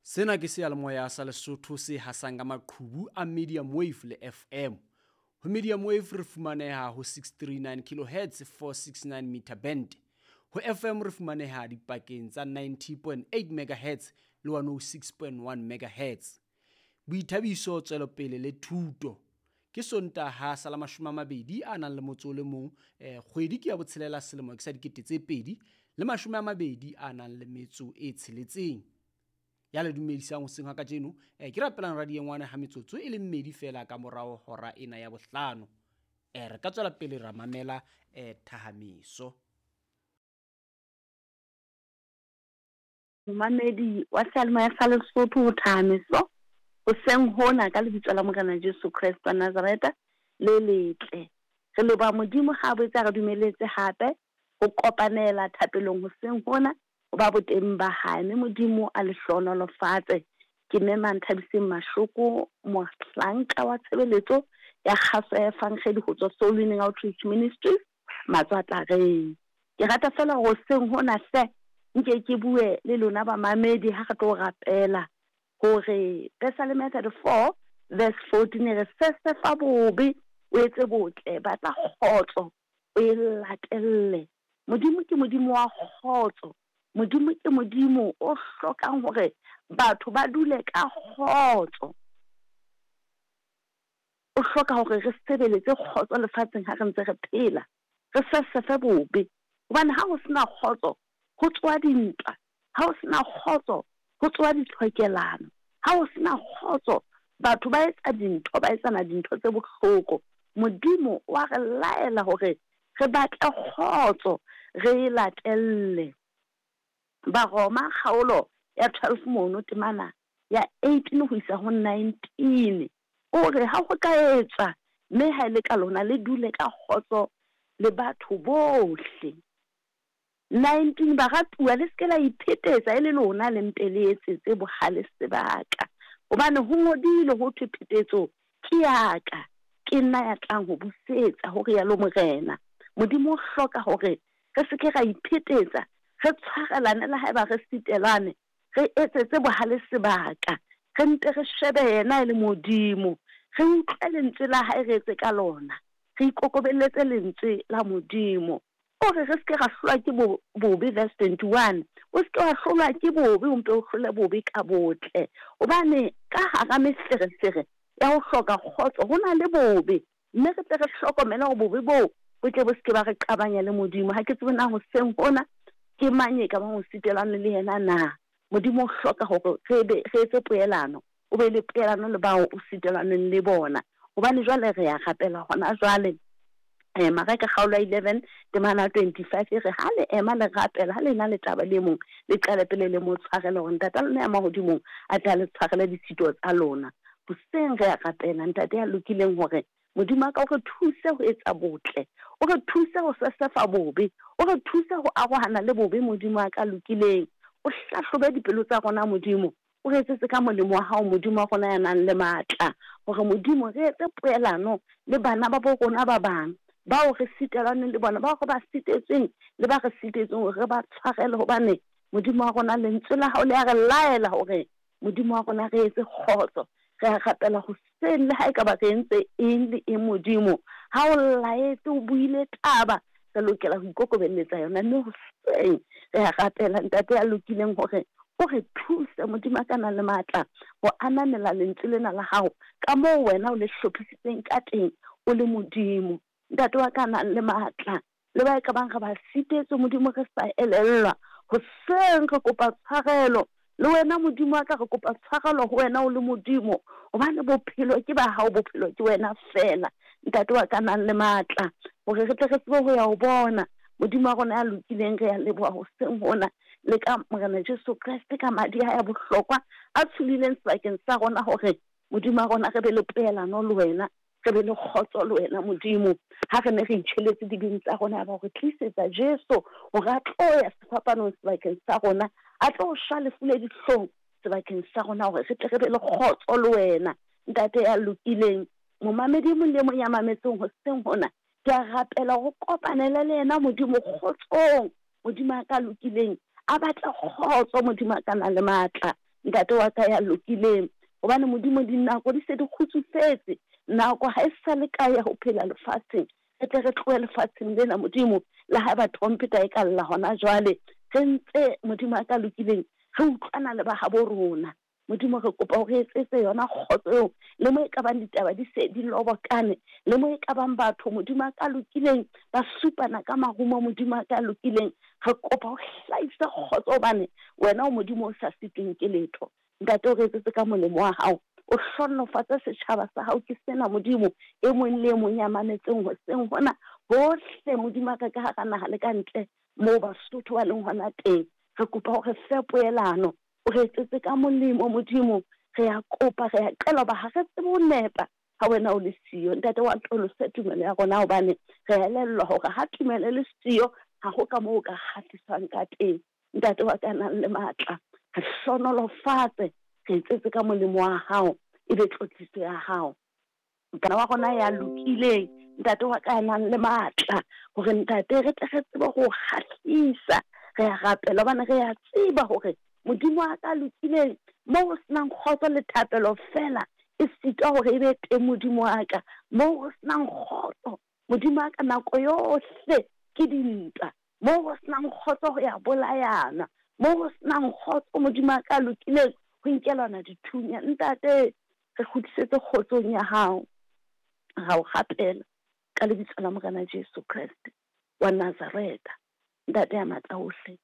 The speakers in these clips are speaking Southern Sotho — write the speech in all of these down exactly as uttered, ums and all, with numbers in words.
Sena ke seyalemoya sa Lesotho se hasang ka maqhubu a medium wave le F M. Ho medium wave re fumaneha ho six three nine kilohertz, four six nine meter band. Ho F M re fumaneha dipakeng tsa ninety point eight megahertz le one oh six point one megahertz. Boithabiso, tswelopele le thuto. Ke Sontaha sa la mashome a mabedi a nang le motso o le mong, eh, kgwedi ke ya botshelela, selemo ke sa dikete tse pedi le mashome a mabedi a nang le metso e tsheletseng. Ya le dumedisang hoseng ha kajeno, eh, ke rapelang radio ngwana ha metsotso e le mmedi fela ka morao hora ena ya bohlano. Eh, re ka tswela pele ra mamela, eh, thahamiso. Momamedi wa seyalemoya sa Lesotho ho thahamiso hoseng hona ka lebitso la Morena Jesu Kreste wa Nazareta le letle. Re leboha Modimo ha a boetse a re dumeletse hape ho kopanela thapelong hoseng hona ho ba boteng ba hae, mme Modimo a le hlohonolofatse. Ke mme Manthabiseng Mashoko, mohlanka wa tshebeletso ya kgaso ya Evangeli ho tswa Soul Winning Outreach Ministries, Matswatlareng. Ke rata fela hore hoseng hona hle nke ke bue le lona bamamedi ha re tlo rapela hore Pesaleme thirty-four verse fourteen re sesefa bobe o etse botle, batla kgotso o e latelle. Modimo ke Modimo wa kgotso. Modimo ke Modimo o hlokang hore batho ba dule ka kgotso. O hloka hore re sebeletse kgotso lefatsheng ha re ntse re phela, re sesefe bobe. Hobane ha ho sena kgotso, ho tswa dintwa. Ha ho sena kgotso, ho tswa ditlhokelano. Ha ho sena kgotso, batho ba etsa dintho, ba etsana dintho tse bohloko. Modimo wa re laela hore re batle kgotso, re e latelle. Baroma kgaolo ya twelve mono temana ya eighteen ho isa ho nineteen. O re ha ho ka etswa, mme ha e le ka lona le dule ka kgotso le batho bohle. nineteen baratuwa, le se ke la iphetetsa e le lona le mpe le etsetse bohale sebaka. Hobane ho ngodilwe ho thwe phetetso ke ya ka, ke nna ya tlang ho busetsa, ho rialo Morena. Modimo o hloka hore re se ke ra iphetetsa, re tshwarelane le haeba re sitelane, re etsetse bohale sebaka, re mpe re shebe yena e le Modimo, re utlwe lentswe la hae, re etse ka lona, re ikokobelletse lentswe la Modimo. O re re se ke ra hlolwa ke bo-, bobe, verse twenty-one. O se ke wa hlolwa ke bobe, o mpe o hlole bobe ka botle. Hobane ka hara meferefere ya ho hloka kgotso ho na le bobe, mme re tle re hlokomele hore bobe boo bo tle bo se ke ba re qabanya le Modimo. Ha ke tsebe na hoseng hona ke mang e ka bang ho sitelane le yena na. Modimo o hloka hore re be, re etse poelano, o be le poelano le bao o sitelaneng le bona. Hobane jwale re ya rapela hona jwale. Eh, Mareka kgaolo ya eleven temana twenty-five e re ha le ema le rapela, ha le na le taba le mong, le qale pele le mo tshwarele hore Ntate a lona ya mahodimong a tle a le tshwarele ditshito tsa lona. Hoseng re ya rapela Ntate ya lokileng hore Modimo a ka o re thuse ho etsa botle, o re thuse ho sesefa bobe, o re thuse ho arohana le bobe. Modimo a ka lokileng, o hlahlobe dipelo tsa rona Modimo, o re etsetse ka molemo wa hao Modimo wa rona ya nang le matla, hore Modimo re etse poelano le bana ba bo rona ba bang bao re sitelaneng le bona, bao re ba sitetsweng le ba re sitetsweng, hore re ba tshwarele. Hobane Modimo wa rona, lentswe la hao le a re laela hore Modimo wa rona re etse kgotso. Re a rapela hoseng le ha ekaba re entse eng le eng Modimo, ha o laetse o buile taba, re lokela ho ikokobelletsa yona. Mme hoseng re a rapela Ntate ya lokileng hore o re thuse Modimo a ka nang le matla ho ananela lentswe lena la hao ka moo wena o le hlophisitseng ka teng o le Modimo. Ntate wa ka nang le matla, le ba e ka bang re ba sitetswe Modimo re sa elellwa, hoseng re kopa tshwarelo le wena Modimo wa ka, re kopa tshwarelo ho wena o le Modimo, hobane bophelo ke ba hao, bophelo ke wena fela. Ntate wa ka nang le matla, hore re tle re tsebe ho ya ho bona Modimo wa rona ya lokileng. Re ya leboha hoseng hona le ka Morena Jesu Kreste ka madi a ya bohlokwa a tsholileng sebakeng sa rona, hore Modimo wa rona re be le poelano le wena, re be le kgotso le wena Modimo. Ha re ne re itjheletse dibeng tsa rona, ya ba re tlisetsa Jesu hore a tlo ya sefapanong sebakeng sa rona, a tlo shwa lefu le dihlong sebakeng sa rona, hore re tle re be le kgotso le wena. Ntate ya lokileng, momamedi e mong le mong ya mametseng hoseng hona, ke a rapela hore o kopanele le yena Modimo kgotsong. Modimo a ka lokileng, a batla kgotso Modimo a ka nang le matla. Ntate wa ka ya lokileng. Hobane Modimo dinako di se di kgutsufetse, nako ha e sa le kae ya ho phela lefatsheng. Re tle re tlohe lefatsheng lena Modimo, le haeba trompeta e ka lla hona jwale, re ntse Modimo a ka lokileng re utlwana le ba habo rona. Modimo re kopa hore etsetse yona kgotso eo, le mo e ka bang ditaba di se di lobokane, le mo e ka bang batho Modimo a ka lokileng ba supana ka marumo, Modimo a ka lokileng, re kopa ho hlahisa kgotso hobane wena o Modimo o sa sitweng ke letho. Ntate o re etsetse ka molemo wa hao, o hlohonolofatse setjhaba sa hao ke sena Modimo, e mong le e mong ya mametseng hoseng hona hohle Modimo a ka ka hara naha le ka ntle moo Basotho ba leng hona teng. Re kopa hore fe poelano, o re etsetse ka molemo Modimo, re ya kopa, re ya qela hoba ha re tsebe ho nepa ha wena o le siyo. Ntate wa atolose tumelo ya rona hobane re elellwa hore ha tumelo e le siyo ha ho ka moo o ka kgahliswang ka teng. Ntate wa ka nang le matla, re hlohonolofatse, re etsetse ka molemo wa hao, e be tlotliso ya hao. Kana wa rona ya lokileng, ntate wa ka nang le matla, hore ntate re tle re tsebe ho kgahlisa. Re ya rapela hobane re ya tseba hore Modimo wa ka lokileng moo ho senang kgotso le thapelo fela e sitwa hore e be teng Modimo wa ka, moo ho senang kgotso Modimo wa ka nako yohle ke dintwa, moo ho senang kgotso ho ya bolayana, moo ho senang kgotso Modimo wa ka lokileng ho nkelana dithunya. Ntate re kgutlisetse kgotsong ya hao, ra o rapela ka lebitso la Morena Jesu Kreste wa Nazareta. Ntate ya matla ohle,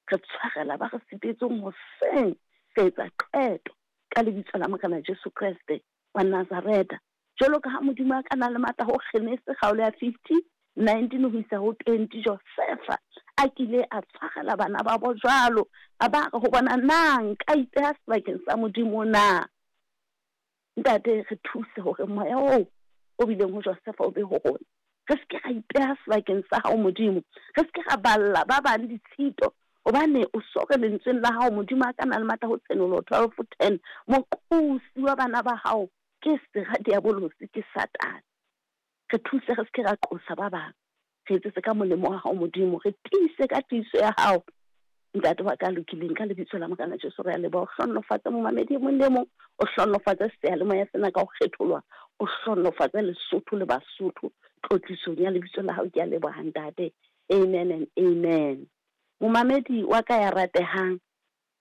re tshwarela ba re sitetseng hoseng, re etsa qeto ka lebitso la Morena Jesu Kreste wa Nazareta. Jwalo ka ha Modimo a ka na le matla ho Genese kgaolo ya fifty nineteen ho isa ho twenty, Josefa a kile a tshwarela bana ba bo jwalo, a ba re ho bona, na nka ipeha sebakeng sa Modimo na? Ntate re thuse hore moya oo o bileng ho Josefa o be ho rona. Re se ke ra ipeha sebakeng sa hao Modimo, re se ke ra balla ba bang ditshito, hobane o so re lentsweng la hao Modimo a ka na le matla ho Tshenolo twelve ten, moqosi wa bana ba hao ke sera diabolosi, ke Satane. Re thuse re se ke ra qosa ba bang, re etsetse ka molemo wa hao Modimo, re tiise ka tiiso ya hao. Ntate wa ka lokileng, ka lebitso la Morena Jesu re a leboha. O hlohonolofatse momamedi e mong le mong, o hlohonolofatse seyalemoya sena ka ho kgetholwa, o hlohonolofatse Lesotho le Basotho tlotlisong ya lebitso la hao. Ke a leboha ntate. Amen and amen. Momamedi wa ka ya ratehang,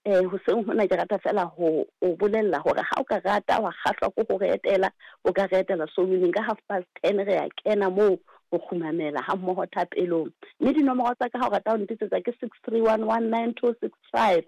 eh hoseng hona ke rata fela ho o bolella hore ha o ka rata wa kgahlwa ke ho re etela, o ka re etela Soul ka half past ten, re ya kena moo ho kgumamela ha mmoho thapelong. Mme dinomoro tsa ka ha o rata ho ntetsetsa ke six three one one nine two six five,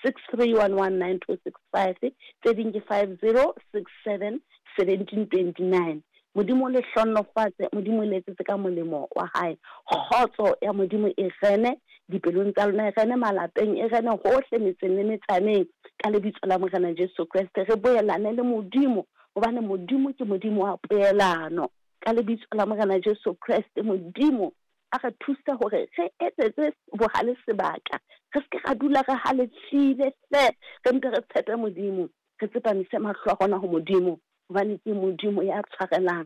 six three one one nine two six five, tse ding ke five zero six seven seventeen twenty nine. Modimo le hlohonolofatse, Modimo le etsetse ka molemo wa hae. Kgotso ya Modimo e rene dipelong tsa lona, e rene malapeng, e rene hohle metseng le metsaneng ka lebitso la Morena Jesu Kreste. Re boelane le Modimo hobane Modimo ke Modimo wa poelano. Ka lebitso la Morena Jesu Kreste, Modimo a re thuse hore re etsetse bohale sebaka, re se ke ra dula re halefile hle, re mpe re tshepe Modimo, re tsepamise mahlo a rona ho Modimo, hobane ke Modimo ya tshwarelang,